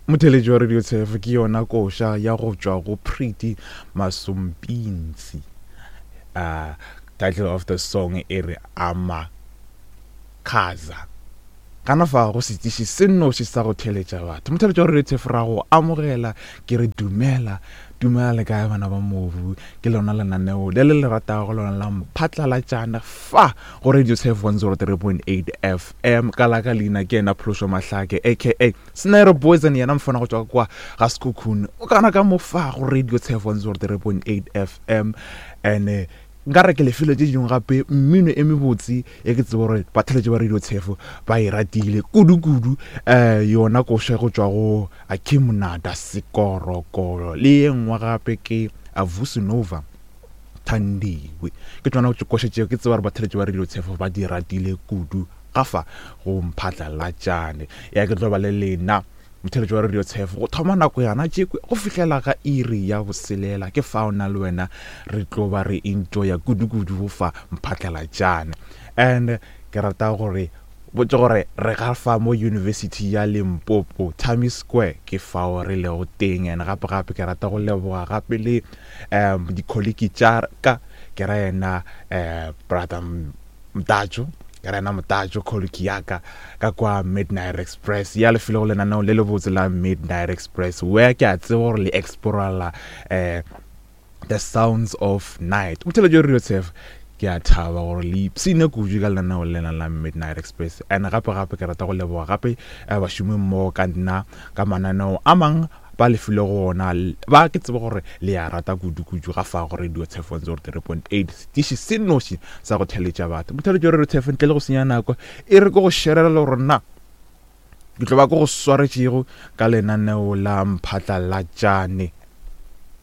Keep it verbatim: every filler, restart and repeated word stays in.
Motheeletši wa Radio Tshefo ke yona koša ya go tšwa go Pretty Masompintsi. Uh, title of the song e re Amakhaza. Gana fa go setiši se nnoši sa go theeletša batho. Motheeletši wa Radio Tshefo ra go amogela ke re dumela dumela le kae bana ba mobu ke lona lenaneo le le le ratago lona la mphatlalatšana fa go Radio Tshefo one zero three point eight F M. Ka la ka leina ke yena Phološo Mahlake aka Snare Poison, yena mfana go tšwa kwa ga Sekhukhune o kana ka mo fa go Radio Tshefo one zero three point eight F M. And eh, nka re ke lefelo tše dingwe gape mmino e mebotse e ke tsebo gore batheletši ba Radio Tshefo ba e ratile kudu-kudu. um yona koša go tšwa go Akim Nada Sekorokoro le ye nngwe gape ke Avusinova Thandiwe, ke tsona koša tšeo ke tseba gore batheletši ba Radio Tshefo ba di ratile kudu gafa go mphatlalatšane. Ya ke tlo ba le lena motheletši wa Radio Tshefo go thoma nako yana tšekwe go fihlela ga iri ya boselela, ke fao na le wena re tlo ba re enjoya kudu-kudu go fa mphatlalatšane. And ke rata gore botse gore re ga fa mo University ya Limpopo, Tami Square, ke fao re lego teng. And gape gape ke rata go leboga gape le um dikholiki tša ka, ke ra yena um brother Mtatšo, ke ra yena Motatšo, colleague ya ka ka kwa Midnight Express ya lefelo go lenaneo le lebotse la Midnight Express, where ke a tseba gore le explorela um the sounds of night. Motheletši wa Radio Tshefo, ke a thaba gore le ipshine kudu ka lenaneo lena la Midnight Express. And gape gape ke rata go leboga gape eh, bašomi mmogo ka nna ka mananeo a mang ba lefile go ona ba ke tsebe gore le a rata kudu-kudu ga fa go Radio Tshefo one zero three point eight, setiši se noši sa go theletša batho. Motheletši wa Radio Tshefo, ntle le go senya nako e re ke go sherela le gore nna ke tlo ba ke go swaretšego ka lenaneo la mphatlalatšane.